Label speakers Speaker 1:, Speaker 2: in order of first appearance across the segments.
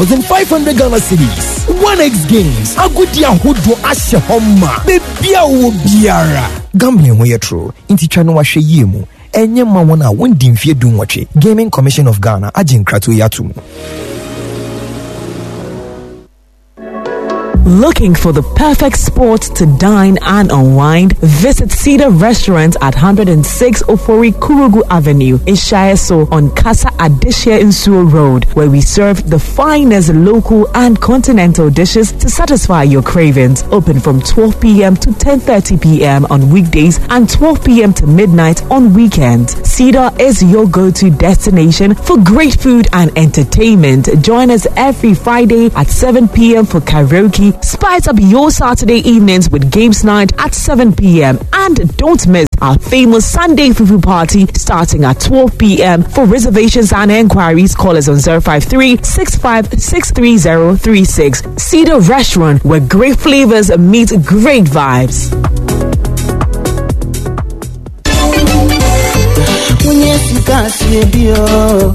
Speaker 1: 500 Ghana cedis. 1x Games. Agodi ahodoɔ ahyɛ hɔ ma. Baabi a wowɔ biara. Gambling ho yɛ toro, nti twa no wahwɛ yie mu. Ɛnyɛ ma wɔn a wɔndi mfeɛ 18. Gaming Commission of Ghana agye nkratoɔ yi ato mu.
Speaker 2: Looking for the perfect spot to dine and unwind? Visit Cedar Restaurant at 106 Ofori Kurugu Avenue in Shaeso on Casa Adishia Insuo Road, where we serve the finest local and continental dishes to satisfy your cravings. Open from 12 p.m. to 10:30 p.m. on weekdays and 12 p.m. to midnight on weekends. Cedar is your go-to destination for great food and entertainment. Join us every Friday at 7 p.m. for karaoke. Spice up your Saturday evenings with games night at 7 p.m. And don't miss our famous Sunday Fufu party starting at 12 p.m. For reservations and enquiries, call us on 053 6563036. Cedar Restaurant, where great flavors meet great vibes.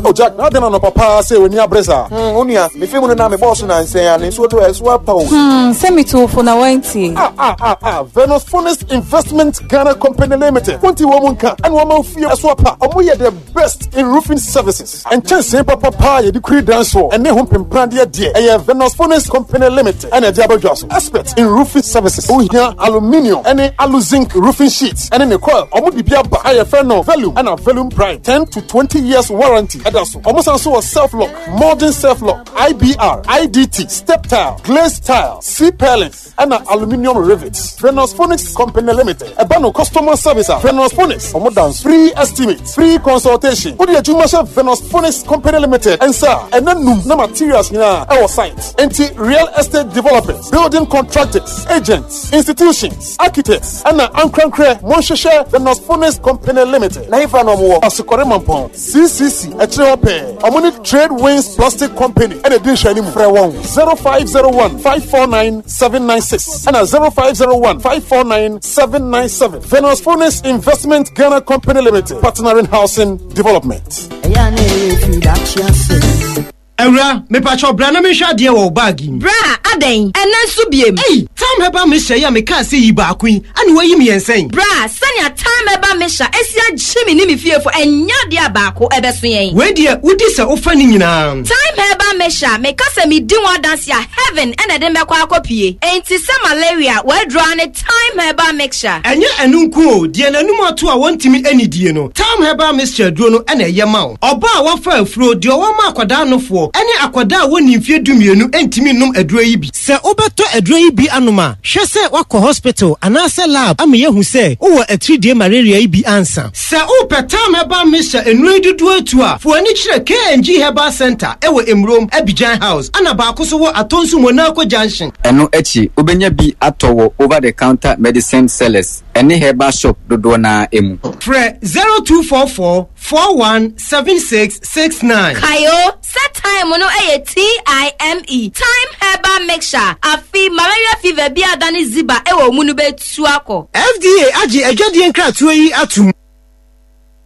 Speaker 3: Oh Jack, na adɛn anɔpa paa sɛ w'ani abere saa?
Speaker 4: Hmm, wo nua, mefe mu no na mebɔɔ so nansɛn a ne nsuo to ɛso apa o.
Speaker 5: Hmm, sɛ metu fo na wantie.
Speaker 3: Ah, ah, ah, ah, Venus Funis Investment Ghana Company Limited. Wonti wɔn mu nka, ɛna wɔn ofie ɛso apa. Wɔn yɛ the best in roofing services. Nkyɛnsee papa paa yɛde kuri dan soɔ ɛne ho mpempradeɛ deɛ ɛyɛ Venus Funis Company Limited ɛna ɛde abɛdwa so. Expert in roofing services. Ohia aluminium ɛne aluzinc roofing sheets ɛne ne coil. Wɔn de bi aba a yɛfrɛ no Velum ɛna Velum Prime. 10 to 20 years warranty ɛda so. Wɔn san so wɔ self lock, modern self lock, IBR, IDT, step tile, glazed tile, C purlins ɛna aluminium rivets. Venus Phoenix Company Limited. Ɛba no customer service a Venus Phoenix ɔmo dan free estimate, free consultation. Wode adwuma hyɛ Venus Phoenix Company Limited nsa a ɛna num na materials nyinaa ɛwɔ site. Nti real estate developers, building contractors, agents, institutions, architects ɛna ankorankorɛ monhwehwɛ Venus Phoenix Company Limited. Na hefa na ɔmo wɔ? Asokɔre Mampɔn CCC ɛkyerɛ hɔ pɛɛ. Ɔmo ne Trade Winds Plastic Company ɛna ɛdi nhwɛ anim. Frɛ wɔn 0501 549 796 ɛna 0501 549 797. Venus Phoenix Investment Ghana Company Limited, partnering housing development.
Speaker 6: Awura, mepakyɛ bra na menhwɛ adeɛ wɔ wo bag mu.
Speaker 7: Bra, adɛn? Ɛnɛ nso biem?
Speaker 6: Ei, Time Herbal Mixture yi a mekaa sɛ yi baako yi, ane wayi mmiɛnsa yi.
Speaker 7: Bra, sɛnea Time Herbal Mixture esi agye me ne me fiefo, ɛnyɛ adeɛ a baako ɛbɛso yɛn.
Speaker 6: Wei deɛ, wodi sɛ wofa ne nyinaa.
Speaker 7: Time Herbal Mixture, meka sɛ medi ho adanse a, heaven ɛna ɛde mbɛkɔ akɔpie. Enti sɛ malaria, wɔadura ne Time Herbal Mixture.
Speaker 6: Ɛnyɛ ɛno nko o, deɛ n'anum ato a wɔntumi anidie no, Time Herbal Mixture duro no ɛna ɛyɛ ma wo. Ɔbaa a wafa afuro, deɛ ɔwɔ ma akwadaa nofoɔ, ɛne akwadaa a wɔnni mfeɛ 12 ntumi nnom aduro yi bi. Sɛ wobɛtɔ aduro yi bi anom a, hwɛ sɛ woakɔ hospital anaasɛ lab ama yɛahu sɛ wowɔ atiridie malaria yi bi ansa. Sɛ wopɛ Time Herbal Mixture nnuro yi dodoɔ atu a, fo ani kyerɛ KNG Herbal Center ɛwɔ Emurom, Abidjan House, ana baako so wɔ Atonsu Monaco Junction.
Speaker 8: Ɛno akyi, wobɛnya bi atɔ wɔ over the counter medicine sellers ɛne herbal shop dodoɔ naa mu.
Speaker 6: Frɛ 0244 417669.
Speaker 7: Kayo, sɛ Time no ɛyɛ TIME, Time Herbal Mixture. Afi malaria fever bi adane ziba ɛwɔ mu no bɛtu akɔ.
Speaker 6: FDA agye adwadie nkratoɔ yi atom.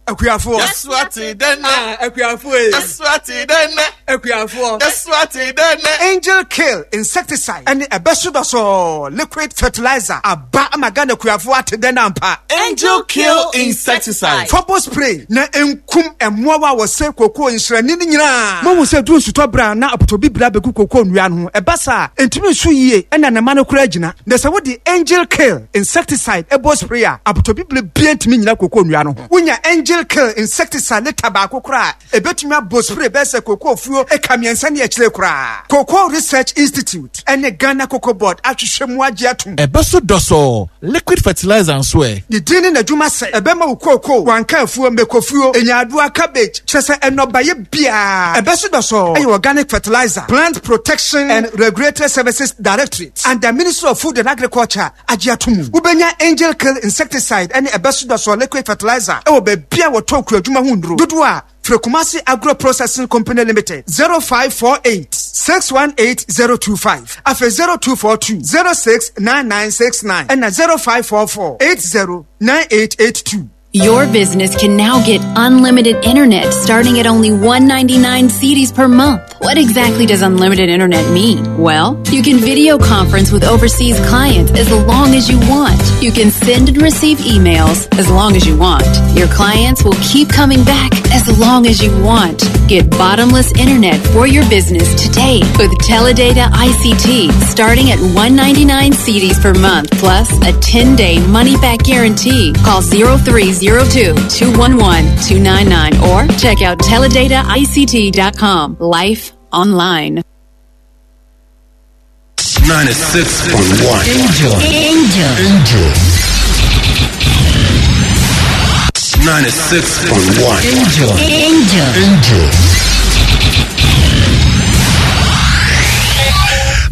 Speaker 9: Akuafoɔ.
Speaker 10: Yɛso ate dɛ nɛ.
Speaker 9: Ah, akuafoɔ yi.
Speaker 10: Yɛso ate dɛ nɛ.
Speaker 9: Akuafoɔ.
Speaker 10: Yɛso ate dɛ nɛ.
Speaker 9: Angel Kill insecticide ɛne ɛbɛso dɔsɔɔ liquid fertilizer aba ama Ghana akuafoɔ ate dɛ nampa.
Speaker 10: Angel Kill insecticide.
Speaker 9: Fɔbɔ spray na nkum mmoawa a wɔsɛ kookoo nsrani no nyinaa. Mohu sɛ duru nsutɔ berɛ a na apotobibire abɛgu kookoo nnua no ho. Ɛba saa a, ɛntumi nso yie ɛna ne ma no koraa gyina. Na sɛ wode Angel Kill insecticide ɛbɔ spray a, apotobibire bia ntumi nyina kookoo nnua no ho. Wonya Angel Kill insecticide lita baako koraa a, ɛbɛtumi abɔ spray bɛyɛ sɛ kookoo fuo eka 3 ne akyire koraa. Cocoa Research Institute ɛne Ghana Cocoa Board ahwehwɛ mu agye atom.
Speaker 10: Ɛbɛso dɔsɔɔ liquid fertilizer nso ɛ.
Speaker 9: Ne din ne n'adwuma sɛ ɛbɛma wo kookoo, wanka afuo, mmekofuo, nyaadoa, cabbage, kyerɛ sɛ nnɔbaeɛ biara. Ɛbɛso dɔsɔɔ ɛyɛ organic fertilizer, Plant Protection and Regulatory Services Directorate and the Ministry of Food and Agriculture agye ato mu. Wobɛnya Angel Kill insecticide ɛne ɛbɛso dɔsɔɔ liquid fertilizer ɛwɔ baabi a wɔtɔn kuadwuma ho nnuro dodoɔ a frɛ Kumasi Agro Processing Company Limited 0548 618 025, afei 0242 069969 ɛna 0544 809882.
Speaker 11: Your business can now get unlimited internet starting at only 199 cedis per month. What exactly does unlimited internet mean? Well, you can video conference with overseas clients as long as you want. You can send and receive emails as long as you want. Your clients will keep coming back as long as you want. Get bottomless internet for your business today with Teledata ICT starting at 199 cedis per month plus a 10-day money-back guarantee. Call 0302 211 299 or check out teledata.ict.com. Life online.
Speaker 12: 96.1 Angel. Angel. Angel. 96.1 Angel. Angel. Angel.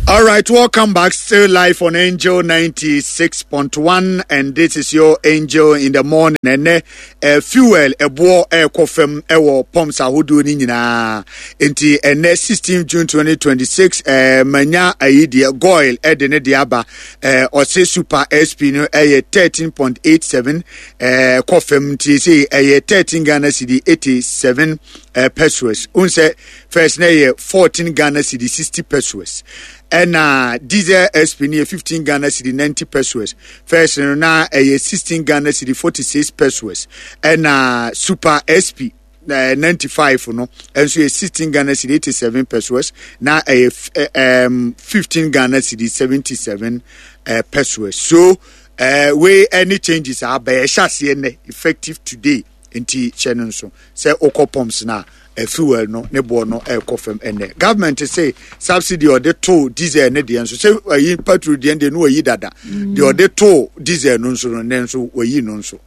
Speaker 13: All right, welcome back. Still live on Angel 96.1, and this is your Angel in the morning. And uh, fuel, ɛboɔ ɛrekɔ fam ɛwɔ pumps ahodoɔ no nyinaa. Nti ɛnɛ 16 June 2026, eh, manya ayi deɛ Goil ɛde ne deɛ aba. Eh, ɔse Super SP no ɛyɛ 13.87 eh, kɔ fam nti sɛ ɛyɛ 13 Ghana cedi 87 eh, pesos. Wohu sɛ first na ɛyɛ 14 Ghana cedi 60 pesos. Ɛna diesel SP no yɛ 15 Ghana cedi 90 pesos. First no na ɛyɛ 16 Ghana cedi 46 pesos. Ɛna Super SP eh, 95 no nso yɛ 16 Ghana cedi 87 pesos na ɛyɛ eh, um, 15 Ghana cedi 77 eh, pesos. So eh, wei ɛne changes a aba ɛhyɛ aseɛ nnɛ effective today nti hyɛ no nso sɛ wokɔ pumps no a fuel no ne boɔ no ɛrekɔ fam ɛnɛ government se subsidy ɔde to diesel ne deɛ nso sɛ ayi petrol deɛ deɛ no wayi dada deɛ ɔde to diesel no nso no ne nso wayi no nso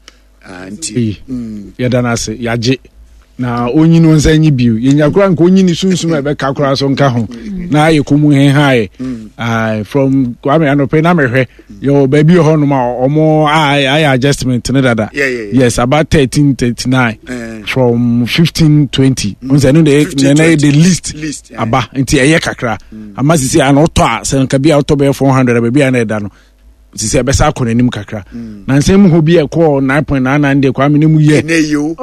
Speaker 13: ah, nti
Speaker 14: mm. yɛda no ase yɛagye na onyi no nsa nyi bio yɛnya koraa nka onyi ne sunsum a ɛbɛka koraa so nka ho na ayɛ kɔmu hehaeɛ mm. from kwame anɔpɛ na mehwɛ yɛwɔ baabi wɔ hɔnom a ɔmo ayɛ adjustment ne dada yes about 1339 eh. from 1520 mm. nsɛ no de na ɛyɛ the least aba nti ɛyɛ kakra mm. ama sisi a na ɔtɔ a sɛ nka bi a ɔtɔ bɛyɛ 400 baabi a na ɛda no sisi ɛbɛsa akɔ n'anim kakra mm. na nsɛm mu hɔ bi ɛkɔɔ 9.99 deɛ kwame ne mu yɛ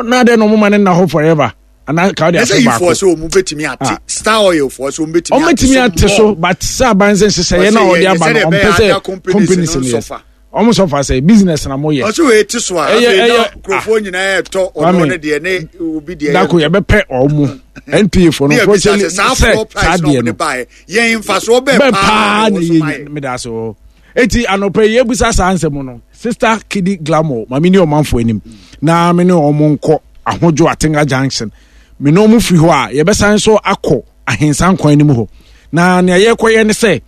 Speaker 14: na dɛ na ɔmo ma ne nna hɔ forever ana ka ɔde afe baako
Speaker 13: ɛsɛ yifoɔ sɛ ɔmo bɛtumi ate ah. star oil foɔ sɛ ɔmo bɛtumi
Speaker 14: ɔmo bɛtumi ate so but sɛ aban sɛ nhyehyɛeɛ na ɔde aba no ɔmpɛ sɛ companies no yɛ ɔmo sɔfa sɛ business na mo yɛ.
Speaker 13: ɔsɛ wei ti so a afei na nkurɔfoɔ nyinaa ɛtɔ ɔno ne deɛ ne obi deɛ.
Speaker 14: dako yɛbɛpɛ ɔmo npa foɔ no
Speaker 13: nkurɔfoɔ sɛ saa deɛ no yɛn nfasoɔ bɛɛ paa
Speaker 14: na yɛ meda so eti anɔpɛ yi ebusa saa nsɛm no sister kidi glamour maame ni ɔmanfo anim na me ne ɔmo nkɔ ahodwo atenga junction me ne ɔmo firi hɔ a yɛbɛsan so akɔ ahensan kwan no mu hɔ na nea yɛkɔyɛ ne sɛ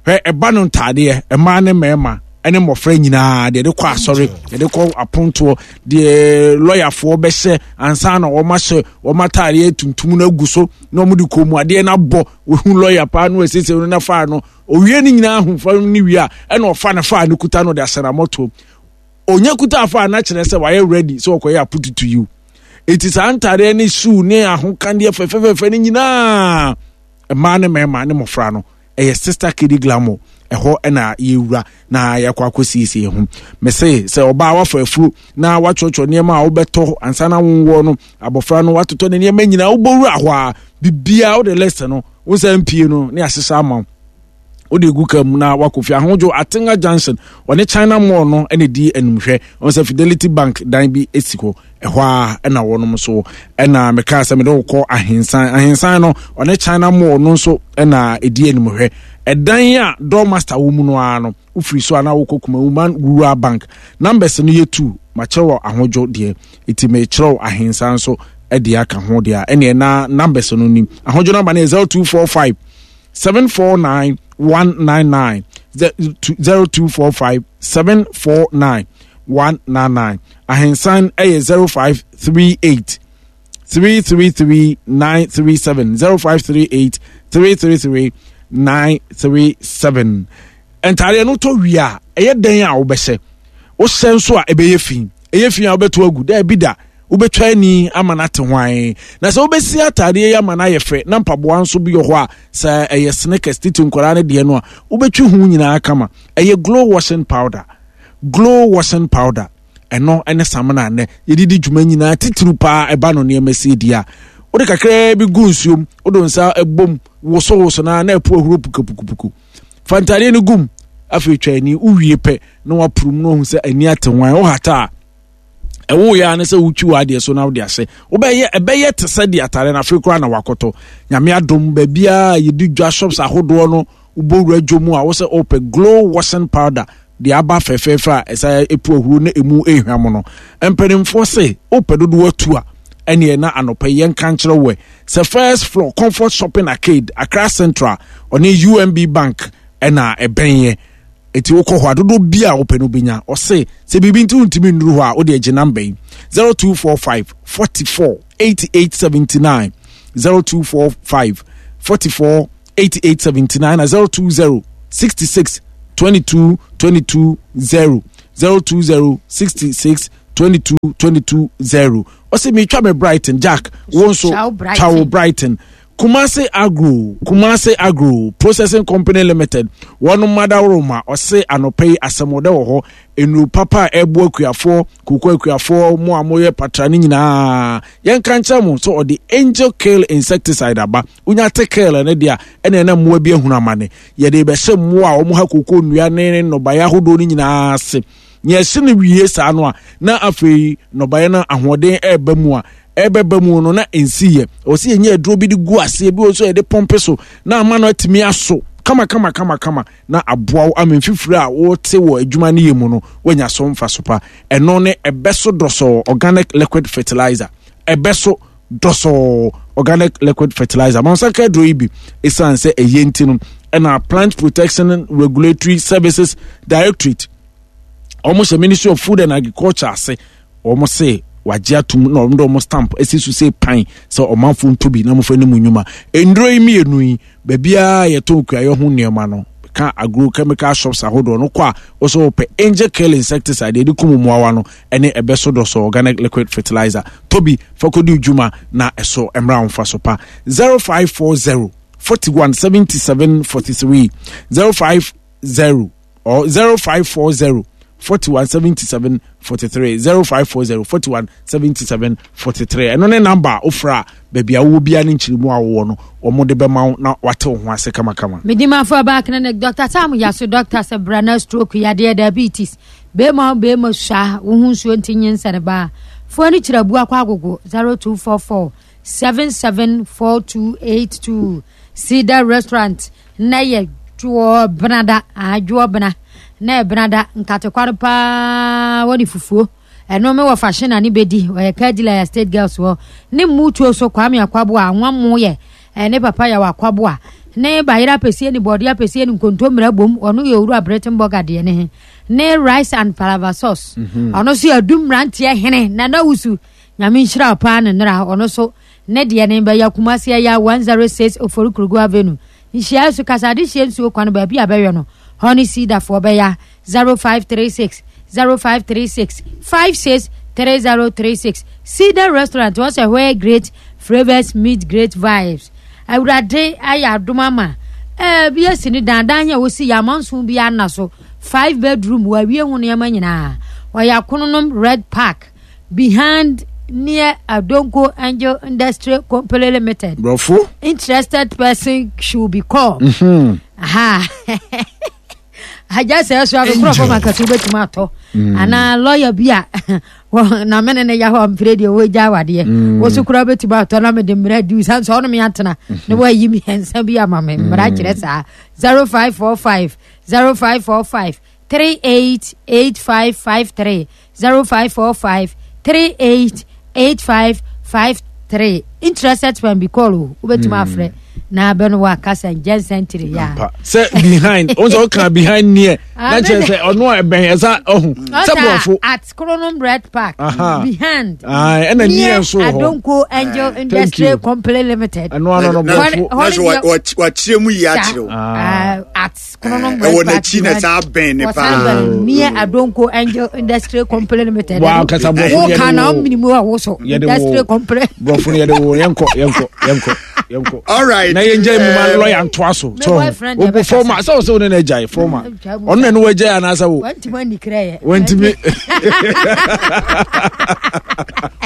Speaker 14: hwɛ ɛba no ntaadeɛ mmaa ne mmarima ne mmɔfra nyinaa deɛ de kɔ asɔre deɛ de kɔ apontoɔ deɛ lɔyafoɔ bɛhyɛ ansa na wɔn ahyɛ wɔn ataadeɛ tuntum no agu so na wɔn de kɔn mu adeɛ no abɔ wohu lɔya paa no asiesie no na faa no owie ne nyinaa ho fa ne wie a ɛna ɔfa ne faa no kuta no de ahyɛ n'amɔtoɔ onya kuta afa na kyerɛ sɛ wayɛ ready sɛ ɔkɔyɛ apututu yiw eti saa ntaadeɛ ne shoe ne ahokandeɛ fɛfɛfɛfɛ ne nyinaa mmaa ne mmarima ne mmɔfra no ɛyɛ sister kidi glamour ɛhɔ ɛna yɛwura na yɛakɔ akɔsiesie ho mese sɛ ɔbaa wafa afuro na watwerɛtwerɛ nneɛma a wobɛtɔ ansa na wonwoɔ no abɔfra no watotɔ ne nneɛma nyinaa wobɔwura hɔ a biribiaa wode list no wo sɛ mpie no ne ahyehyɛ ama wo wode gu ka mu na wakɔ fie ahodwo atenga junction ɔne china mall no ɛna di animhwɛ ɔn sɛ fidelity bank dan bi si hɔ ɛhɔ a ɛna wɔnom so ɛna mekaa sɛ mede wokɔ ahensan ahensan no ɔne china mall no nso ɛna ɛdi animhwɛ ɛdan a door master wɔ mu no ara no wofiri so a na wokɔ kumawuman rural bank numbers no yɛ two makyerɛw ahodwo deɛ ɛti mekyerɛw ahensan nso ɛde aka ho deɛ ɛneɛ na numbers no nim ahodwo number no yɛ 0245 749 199 0245 749 199 ahensan ɛyɛ 0538 333 937 0538 333 937 ntaadeɛ no tɔ wie a ɛyɛ dɛn a wobɛhyɛ wohyɛ nso a ɛbɛyɛ fi ɛyɛ fi a wobɛto agu daabi da wobɛtwa ani ama no ate hwan na sɛ wobɛsi ataadeɛ yi ama no ayɛ fɛ na mpaboa nso bi wɔ hɔ a sɛ ɛyɛ sneakers titi nkwadaa no deɛ no a wobɛtwi ho nyinaa kama ɛyɛ glow washing powder glow washing powder. Ɛno ne samina nnɛ yɛde di dwuma nyinaa titiriw paa ɛba no nneɛma sie di a wode kakraa bi gu nsuom wode nsa bom wosowoso na na ɛpo ahuro pukapukupuku fa ntadeɛ no gum afei twa ani wowie pɛ na wapurum na wahu sɛ ani ate hwan wohata a ɛwo yɛ ne sɛ wotwi w'adeɛ so na wode ahyɛ wobɛyɛ ɛbɛyɛ te sɛ deɛ atare no afei koraa na wakɔtɔ nyame adom baabiaa yɛdi dwa shops ahodoɔ no wobɔ wura dwo mu a wo sɛ wopɛ glow washing powder deɛ aba fɛfɛɛfɛ a ɛsɛ epu ahuro na emu ehwam no mpanimfoɔ se wopɛ dodoɔ atu a ɛneɛ na anɔpa yi yɛnka nkyerɛ wɔ sɛ first floor comfort shopping arcade Accra Central ɔne UMB Bank ɛna ɛbɛn yɛ eti wokɔ hɔ a dodoɔ bi a wopɛ no wobɛnya ɔse sɛ biribi nti wontumi nnuru hɔ a wode agye namba yi 0245 44 88 79 0245 44 88 79 na 020 66 22 22 0 020 66 22 22 0 ɔsɛ metwa me Brighton Jack wo nso twa wo Brighton Kumasi Agro Kumasi Agro Processing Company Limited wɔn madaworoma ɔse anɔpa yi asɛmɔdɛ wɔ hɔ nnuru papa a ɛboa akuafoɔ koko akuafoɔ mo a moyɛ patra no nyinaa yɛnka nkyerɛ mo sɛ ɔde angel kill insecticide aba wonya te kill no deɛ a ɛna ɛna mmoa bi ahunu amane yɛde bɛhyɛ mmoa a wɔn ha koko nnua ne nnɔbaeɛ ahodoɔ no nyinaa ase nea ɛhyɛ no wie saa no a na afei nnɔbaeɛ no ahoɔden ɛreba mu a ɛbɛba mu no na ɛnsi yɛ ɛwɔ sɛ yɛnyɛ aduro bi de gu aseɛ bi wɔ nso yɛde pɔmpe so na ama no atumi aso kama kama kama kama na aboa wo ama mfifiri a wote wɔ adwuma no yɛ mu no woanya so mfa so pa ɛno ne ɛbɛ so dɔsɔɔ organic liquid fertilizer ɛbɛ so dɔsɔɔ organic liquid fertilizer ma nsa ka aduro yi bi ɛsiane sɛ ɛyɛ nti no ɛna plant protection regulatory services directorate wɔn hyɛ ministry of food and agriculture ase wɔn se wagye atum na wɔn de wɔn stamp asi so sɛ pan sɛ ɔmanfo nto bi na wɔfa ne mu nnwuma nnuro yi mmienu yi baabiara yɛtɔn kuayɔ ho nneɛma no ka agro chemical shops ahodoɔ no kɔ a wɔsɛ wɔpɛ angel kill insecticide yɛde kum mmoawa no ɛne ɛbɛ so dɔsɔ organic liquid fertilizer tobi fakɔdi dwuma na ɛso mmra wɔn fa so pa 0540 41 77 43 050 or 0540 41 77 43 0540 41 77 43 ɛno ne namba a wofrɛ a baabi a wowɔ biara ne nkyerɛmu a wowɔ no wɔn de bɛma wo na wate wo ho ase kamakama.
Speaker 15: Medimafo aba clinic Dr. Sam Yaso doctor sɛ bra na stroke yadeɛ diabetes bɛrima bɛrima sua wo ho nsuo nti nyinsɛne baa foɔ no kyerɛ abu akɔ agogo 0244 774282 Cedar Restaurant na yɛ dwoɔ benada ah dwoɔ bena na yɛ benada nkatekware paa wɔde fufuo ɛno me wɔ fashion na ne bɛdi ɔyɛ kadila yɛ state girls hɔ ne mutuo so kwame akwaboa anwa mo yɛ ɛne papa yɛ wɔ akwaboa ne bayerɛ apɛsie ne bɔɔde apɛsie ne nkontommire bom ɔno yɛ owura Britain burger deɛ ne he ne rice and palava sauce mhm. ɔno so yɛ adum mmeranteɛ hene nana wusu nyame nhyira paa ne nnora ɔno so ne deɛ ne bɛyɛ Kumasi ɛya 106 Ofori Kurugu Avenue Nhyiae so kasa adehyeɛ nsuo kwan baabi a bɛyɔ no hɔ ne siidafoɔ bɛya 0536 0536 56 3036 Cedar Restaurant wɔ sɛ where great flavors meet great vibes Awurade ayɛ adom ama ɛɛ bi asi ne dan dan yɛ wosi yɛ amanso bi ana so five bedroom wɔawie ho nneɛma nyinaa ɔyɛ akononom red park behind near Adonko Angel Industry Company Limited.
Speaker 14: Brɔfo.
Speaker 15: Interested person should be called. Mm-hmm. Aha. agya sɛ ɛso abekorɔ fam akɛse wobɛtumi atɔ mm. anaa lɔya bi a na mene ne yɛ hɔ mfiri deɛ wɔgya awadeɛ mm. wo so koraa wobɛtumi atɔ na mede mmara di sane sɛ ɔno me atena na mm-hmm. woayi mmiɛnsa bi ama me mmara kyerɛ saa 0545 0545 388553 0545 388553 interested friend bi call o wobɛtumi hmm. afrɛ na bɛ no wakasa nkyɛnsɛntiri ya
Speaker 14: sɛ behind wọn sɛ ɔka behind neɛ na kyerɛ sɛ ɔno a ɛbɛn ɛsa ɔho sɛ borɔfo
Speaker 15: at kronom red park behind
Speaker 14: ɛna neɛ nso wɔ hɔ
Speaker 15: adonko angel industry company limited
Speaker 14: ɛno ano no borɔfo
Speaker 13: wakyerɛ mu yi akyerɛ o
Speaker 15: at
Speaker 13: ɛwɔ n'akyi na saa bɛn ne paa
Speaker 15: near adonko angel industry company limited
Speaker 14: wa kasa borɔfo
Speaker 15: yɛde wo ka na ɔmini mu a woso industry company
Speaker 14: borɔfo yɛde wo yɛnkɔ yɛnkɔ yɛnkɔ. Yɛnkɔ.
Speaker 13: All right.
Speaker 14: Na yɛn gya mu ma lawyer ntoa so.
Speaker 15: Me
Speaker 14: So
Speaker 15: boyfriend
Speaker 14: wo
Speaker 15: deɛ
Speaker 14: former
Speaker 15: bɛkasa.
Speaker 14: sɛ wo sɛ wo ne na agyae former. Ɔno na ne wagyae anaasɛ wo.
Speaker 15: Wantumi ani krɛ yɛ.
Speaker 14: Wantumi.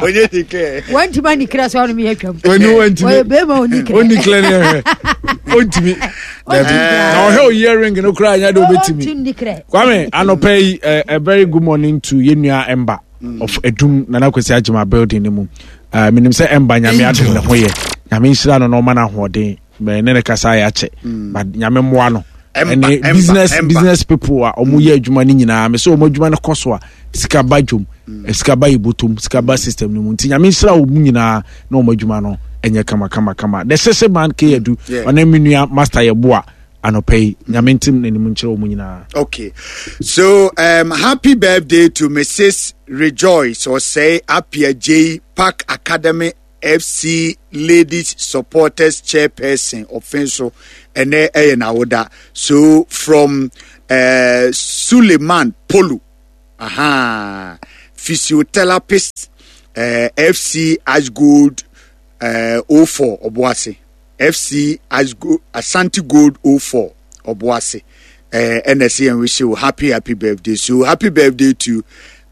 Speaker 13: Onye di kɛ.
Speaker 15: Wantumi ani krɛ sɛ ɔno mi atwam.
Speaker 14: Wani wantumi.
Speaker 15: Ɔyɛ bɛrima oni krɛ.
Speaker 14: Oni krɛ ne hwɛ. Ontumi. Dabi. Na ɔhwɛ o earring no koraa nya de obetumi.
Speaker 15: Ɔntumi ni krɛ.
Speaker 14: Kwame anɔpa yi a very good morning to yɛn nua Emba of Edum Nana Kwesi Agyema building no mu. Menim sɛ Emba nyame adom ne ho yɛ. Nyame nhyira no na ɔma no ahoɔden. Mɛ ne ne kasa ayɛ akyɛ. But nyame mmoa no. Ɛne business business people a wɔn yɛ adwuma no nyinaa mɛ sɛ wɔn adwuma no kɔ so a sika ba dwom sika ba yɛ sika ba system no mu nti nyame nhyira wɔn nyinaa na wɔn adwuma no ɛnyɛ kama kama kama. The sese man ke yɛ du ɔne me nua master yɛ boa anɔpa yi nyame ntim n'anim nkyerɛ wɔn nyinaa.
Speaker 13: Okay, so happy birthday to Mrs. Rejoice Osei Apia J Park Academy FC Ladies Supporters Chairperson Ofenso ɛnɛ ɛyɛ n'awoda. So from Suleiman Polu, aha, physiotherapist FC Ashgold 04 Obuasi. FC Ashgold Ashanti Gold 04 Obuasi. Ɛna ɛsɛ yɛn wish you happy happy birthday. So happy birthday to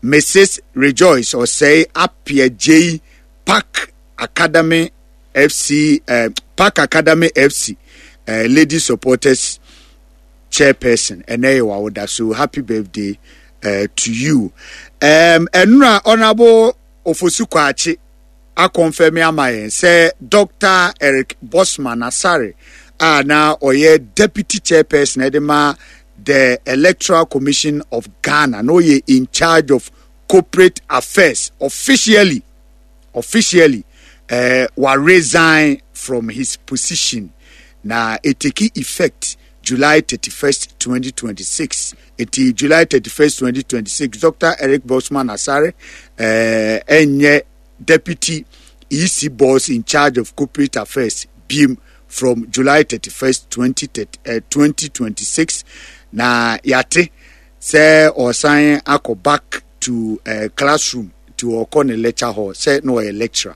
Speaker 13: Mrs. Rejoice Osei Apia J Park Academy FC Park Academy FC Lady Supporters Chairperson. Ɛnɛ yɛ wawoda. So happy birthday to you. Ɛnura Honorable Ofosu Kwakye akɔnfɛmi ama yɛn sɛ Dr. Eric Bosman Asare a na ɔyɛ Deputy Chairperson ɛde ma the Electoral Commission of Ghana na ɔyɛ in charge of corporate affairs officially officially wa resign from his position na it take effect July 31st 2026. Eti July 31st 2026 Dr. Eric Bosman Asare ɛnyɛ deputy EC boss in charge of corporate affairs biem from July 31st 2026 na yate sɛ ɔsan akɔ back to classroom to ɔkɔ ne lecture hall sɛ na ɔyɛ lecturer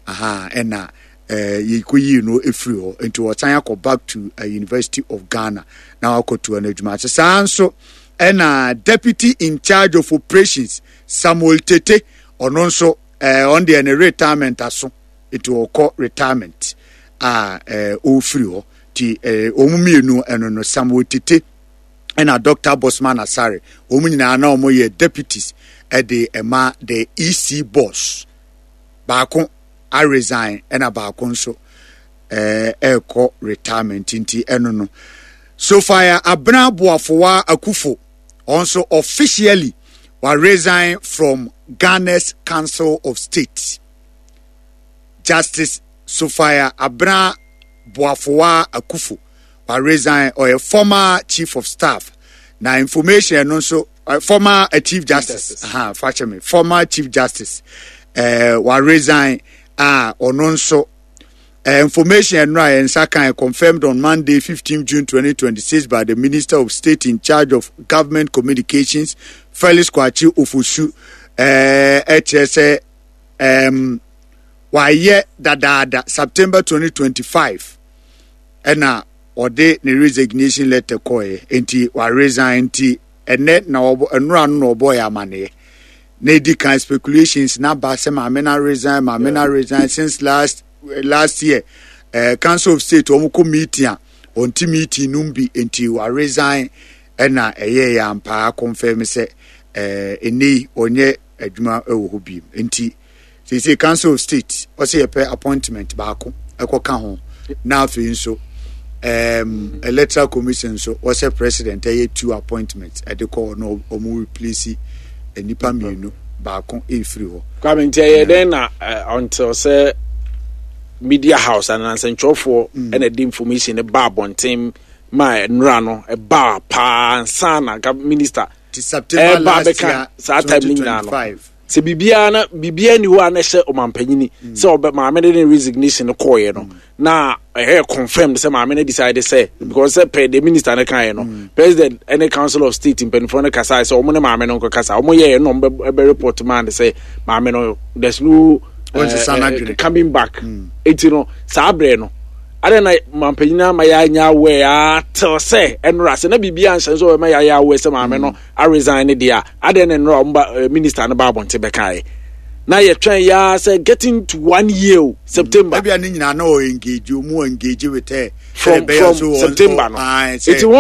Speaker 13: aha ɛna yɛkɔyii no ɛfiri hɔ nti ɔsan akɔ back to University of Ghana na wakɔtoa no adwuma ase. Saa nso ɛna deputy in charge of operations Samuel Tete ɔno nso ɔno deɛ ne retirement aso nti ɔkɔ retirement a ɔfiri hɔ nti wɔn mmienu ɛno no Samuel Tete ɛna Dr. Bosman Asare wɔn nyinaa na wɔn yɛ deputies ɛde ɛma the EC boss baako a resign ɛna baako nso ɛrekɔ retirement nti ɛno no Sophia Abena Boafowa Akufo ɔnso officially wa resign from Ghana's Council of State. Justice Sophia Abena Boafowa Akufo wa resign ɔyɛ former chief of staff na information ɛno nso former chief justice aha fakyɛ me former chief justice wa resign a ɔno nso information ɛno a yɛn nsa kan confirmed on Monday 15 June 2026 by the Minister of State in charge of Government Communications Felix Kwakye Ofosu ɛkyerɛ sɛ wayɛ dadaada September 2025 ɛna ɔde ne resignation letter kɔɛ nti wa resign nti ɛnɛ na ɔbɔ ɛnura no na ɔbɔ yɛ amaneɛ na edi kan speculations na ba sɛ maame na resign maame na resign since last year Council of State wɔn kɔ meeting a wɔn ti meeting no bi nti wa resign ɛna ɛyɛ yɛ ampaa confirm sɛ ɛnɛ yi ɔnyɛ adwuma ɛwɔ hɔ bi nti sese Council of State ɔsɛ yɛpɛ appointment baako ɛkɔ ka ho na afei nso Electoral Commission nso ɔsɛ president ɛyɛ 2 appointments ɛde kɔ na ɔmo replace nipa mmienu baako efiri hɔ.
Speaker 14: Kwame nti ɛyɛ dɛn na until sɛ media house anaasɛ ntwerɛfoɔ ɛna de information no ba abɔnten ma nnura no ɛbaa paa nsa na nka minister ɛba bɛka saa time no nyinaa no sɛ biribiara na biribiara ni hɔ a na ɛhyɛ ɔmampanyini sɛ ɔbɛ maame de ne resignation no kɔɔeɛ no na ɛyɛ confirmed sɛ maame no decide sɛ because sɛ pɛ the minister no kaeɛ no president ɛne council of state mpanimfoɔ no kasae sɛ ɔmo ne maame no nkɔkasa ɔmo yɛɛ no ɔmo bɛ report maa no sɛ maame no there's no coming back eti no saa berɛ no. Adɛn na mampanyin ama yɛanya aware a till sɛ ɛnora sɛ na biribi anhyɛ nso ɔbɛma yɛayɛ aware sɛ maame no aresign ne deɛ a, adɛn na ɛnora ɔmba minister no ba abɔnten bɛkaeɛ na yɛtwɛn yɛa sɛ getting to one year o, September.
Speaker 13: Ebia ne nyinaa na ɔ engage, ɔmu engage with her.
Speaker 14: From September no. Eti wɔn